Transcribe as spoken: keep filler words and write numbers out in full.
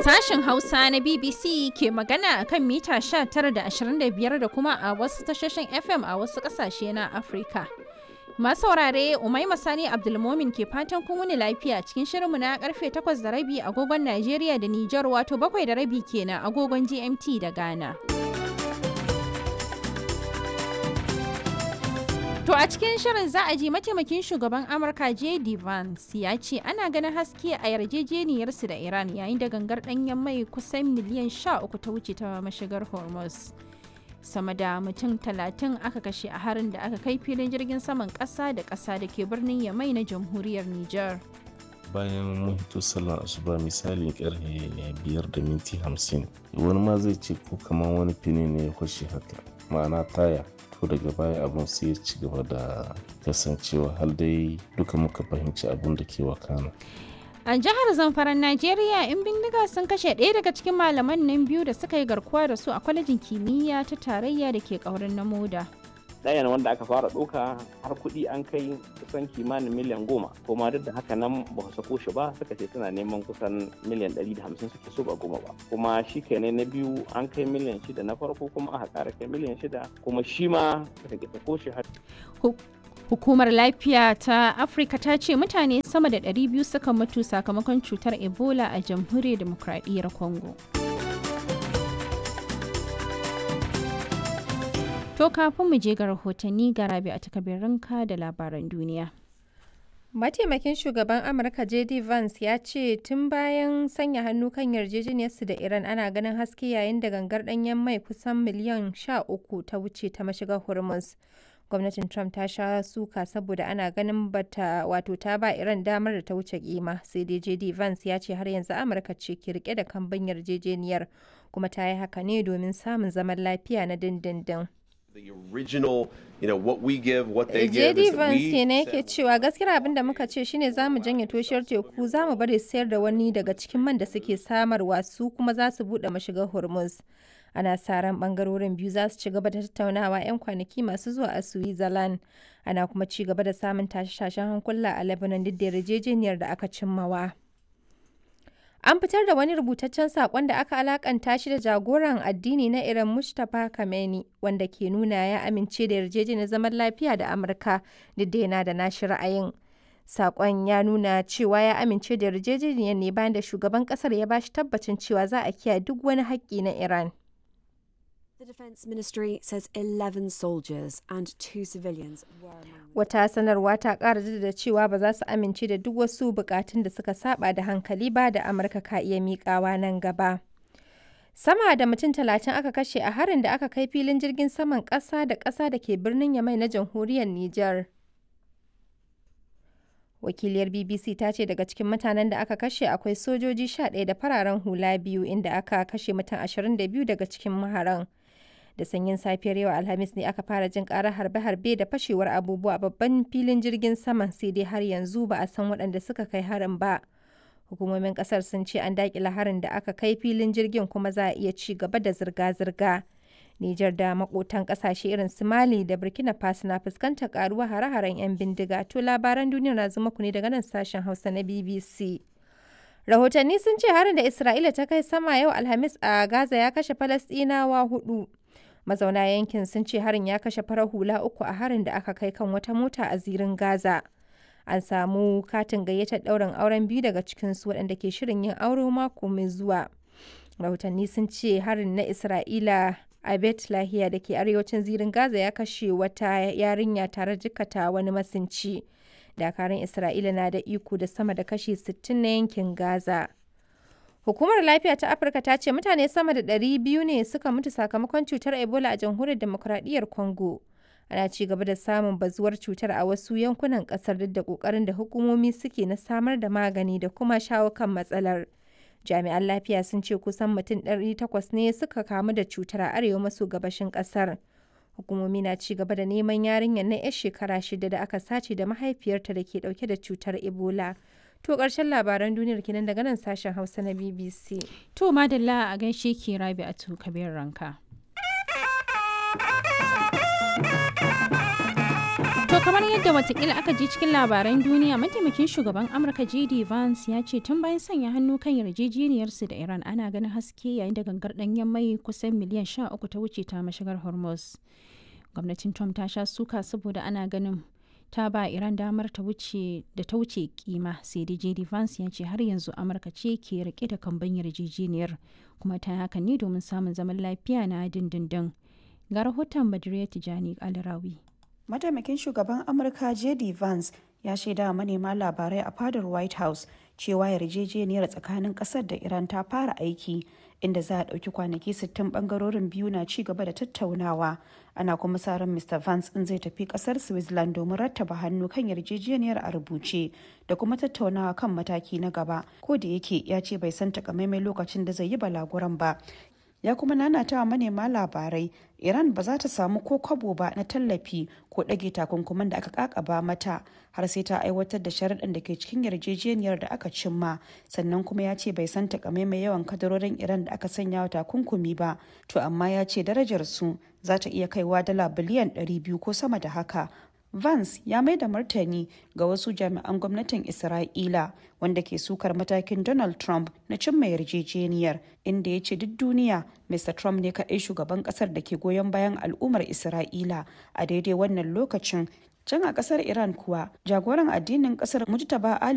Sashen Hausa na B B C ke magana a kan mita sha tara da ashirin da biyar da kuma a wasu tashoshin F M a wasu ƙasashe na Afirka. Masu saurare Umaima Sani Abdulmomin ke fatan kun wuni lafiya cikin shirinmu na karfe takwas da rabi agogon Najeriya da Nijar, wato bakwai da rabi kenan agogon G M T da Ghana. To a cikin shirin za a ji mataimakin shugaban Amurka J D. Vance ya ce ana ganin haske a yarjejeniyarsu da Iran yayin da gangar ɗanyen mai kusan miliyan sha uku ta wuce ta mashigar Hormuz. Sama da mutum talatin aka kashe a harin da aka kai filin jirgin saman ƙasa da ƙasa da ke birnin Yamai na jamhuriyar Nijar. Bayan mun hito sallar asuba misalin karfe biyar da minti hamsin, wani ma zai ce ko kamar wani fini ne ya kwashe haka, ma'ana taya. To daga baya abun sai ya ci gaba da kasancewa har dai duka muka fahimci abun da ke wakana. A jihar Zamfaran Najeriya, 'yan bindiga sun kashe ɗaya daga cikin malaman nan biyu da suka yi garkuwa da su a kwalejin kimiyya ta tarayya da ke ƙaurin na Moda. Ɗayan wanda aka fara ɗauka har kuɗi an kai kusan kimanin miliyan goma, kuma duk da haka nan ba su sako shi ba, suka ce suna neman kusan miliyan ɗari da hamsin suke so ba goma ba. Kuma shi kenan na biyu an kai miliyan shida na farko, kuma aka ƙara kai miliyan shida, kuma shi ma suka ƙi sako shi har. Hukumar Lafiya ta Afirka ta ce mutane sama da ɗari biyu suka mutu sakamakon cutar Ebola a Jamhuriyar Demokradiyyar Congo. To kafin mu je ga rahotanni, ga Rabi a takabirinka da labaran duniya. Mataimakin shugaban Amurka J D. Vance ya ce tun bayan sanya hannu kan yarjejeniyarsu da Iran ana ganin haske yayin da gangar ɗanyen mai kusan miliyan sha uku ta wuce ta mashigar Hormuz. Gwamnatin Trump ta sha suka saboda ana ganin bata wato ta ba Iran damar da ta wuce kima, sai dai J D Vance ya ce har yanzu Amurka ce ke rike da kambun yarjejeniyar, kuma ta yi haka ne domin samun zaman lafiya na dindindin. The original, you know, what we give, what they give J D is that Vance we kenan yake cewa gaskiyar abin da muka ce shine za mu janye toshiyar teku, za mu bari sayar da wani daga cikin man da suke samarwa, su kuma za su buɗe mashigar Hormuz. Ana sa ran bangarorin biyu za su ci gaba da tattaunawa 'yan kwanaki masu zuwa a Switzerland. Ana kuma ci gaba da samun tashe-tashen hankula a Lebanon duk da yarjejeniyar da aka cimmawa. An fitar da wani rubutaccen saƙon da aka alakanta shi da jagoran addini na Iran Mujtaba Khamenei, wanda ke nuna ya amince da yarjejeniyar zaman lafiya da Amurka duk da yana da nashi ra'ayin. Saƙon ya nuna cewa ya amince da yarjejeniyar ne bayan da shugaban ƙasar ya bashi tabbacin cewa za a kiyaye duk wani haƙƙi na Iran. The Defence Ministry says eleven soldiers and two civilians were among the Wata sanarwa ta ƙara jaddada cewa ba za su amince da duk wasu bukatun da suka saba da hankali ba da Amurka ka iya miƙawa nan gaba. Sama da mutum talatin aka kashe a harin da aka kai filin jirgin saman ƙasa da ƙasa da ke birnin Yamai na jamhuriyar Nijar. Wakiliyar B B C ta ce daga cikin mutanen da aka kashe akwai sojoji sha ɗaya da fararen hula biyu, inda aka kashe mutum ashirin da biyu daga cikin maharan. Da sanyin safiyar yau Alhamis ne aka fara jin karar harbe-harbe da fashewar abubuwa a babban filin jirgin saman, sai dai har yanzu ba a san waɗanda suka kai harin ba. Hukumomin kasar sun ce an daƙile harin da aka kai filin jirgin, kuma za a iya ci gaba da zirga-zirga. Nijar da makotan kasashe irin su Mali da Burkina Faso na fuskantar karuwa hare-haren 'yan bindiga. To labaran duniya na zuma ku ne daga nan sashen Hausa na B B C. Rahotanni sun ce harin da Isra'ila ta kai sama yau Alhamis a Gaza ya kashe Falasɗinawa hudu. Mazauna yankin sun ce harin ya kashe farar hula uku a harin da aka kai kan wata mota a zirin Gaza. An samu katin gayyatar ɗaurin auren biyu daga cikinsu waɗanda ke shirin yin aure mako mai zuwa. Rahotanni sun ce harin na Isra'ila a Bet Lahiya da ke arewacin zirin Gaza ya kashe wata yarinya tare jikkata wani masinci. Dakarun Isra'ila na da iko da sama da kashi sittin na yankin Gaza. Hukumar Lafiya ta Afirka ta ce mutane sama da ɗari biyu ne suka mutu sakamakon cutar Ebola a Jamhuriyar Demokuraɗiyyar Congo. Ana ci gaba da samun bazuwar cutar a wasu yankunan ƙasar duk da ƙoƙarin da hukumomi suke na samar da magani da kuma shawo kan matsalar. Jami'an lafiya sun ce kusan mutum ɗari takwas ne suka kamu da cutar a arewa maso gabashin ƙasar. Hukumomi na ci gaba da neman yarinyar na 'yar shekara shida da aka sace da mahaifiyarta da ke ɗauke da cutar Ebola. To ƙarshen labaran duniyar kenan daga nan sashen Hausa na B B C. To madalla, a gaishe ki Rabi a kabir ranka. To Kamar yadda watakila aka ji cikin labaran duniya, mataimakin shugaban Amurka J D Vance ya ce tun bayan sanya hannu kan yarjejeniyarsu da Iran ana ganin haske, yayin da gangar danyen mai kusan miliyan sha uku ta wuce ta mashigar Hormuz. Gwamnatin Trump ta sha suka saboda ana ganin ta ba Iran damar ta wuce da ta wuce kima, sai dai J D Vance ya ce har yanzu Amurka ce ke rike da kamban yarjejeniyar, kuma ta hakan ne domin samun zaman lafiya na dindindin. Ga rahoton Badriya Tijani Alrawi. Mataimakin shugaban Amurka J D Vance ya shaida wa manema labarai a fadar White House cewa yarjejeniyar tsakanin kasar da Iran ta fara aiki, inda za a ɗauki kwanaki sittin bangarorin biyu na ci gaba da tattaunawa. Ana kuma sa ran Mister Vance in zai tafi kasar Switzerland domin rattaba hannu kan yarjejeniyar a rubuce da kuma tattaunawa kan mataki na gaba, ko da yake ya ce bai san takamaiman lokacin da zai yi balaguran ba. Ya kuma nanata wa manema labarai Iran ba za ta samu ko kwabo ba na tallafi ko ɗage takunkuman da aka kakaba mata har sai ta aiwatar da sharaɗin da ke cikin yarjejeniyar da aka cimma. Sannan kuma ya ce bai san takamaimai yawan kadarorin Iran da aka sanya wa takunkumi ba, to amma ya ce darajar su za ta iya kaiwa dala biliyan ɗari biyu ko sama da haka. Vance ya mai da martani ga wasu jami'an gwamnatin Isra'ila wanda ke sukar matakin Donald Trump na cimma yarjejeniyar, inda ya ce duk duniya Mister Trump ne kaɗai shugaban ƙasar da ke goyon bayan al'ummar Isra'ila a daidai wannan lokacin. Can a ƙasar Iran kuwa, jagoran addinin ƙasar Mujtaba Ali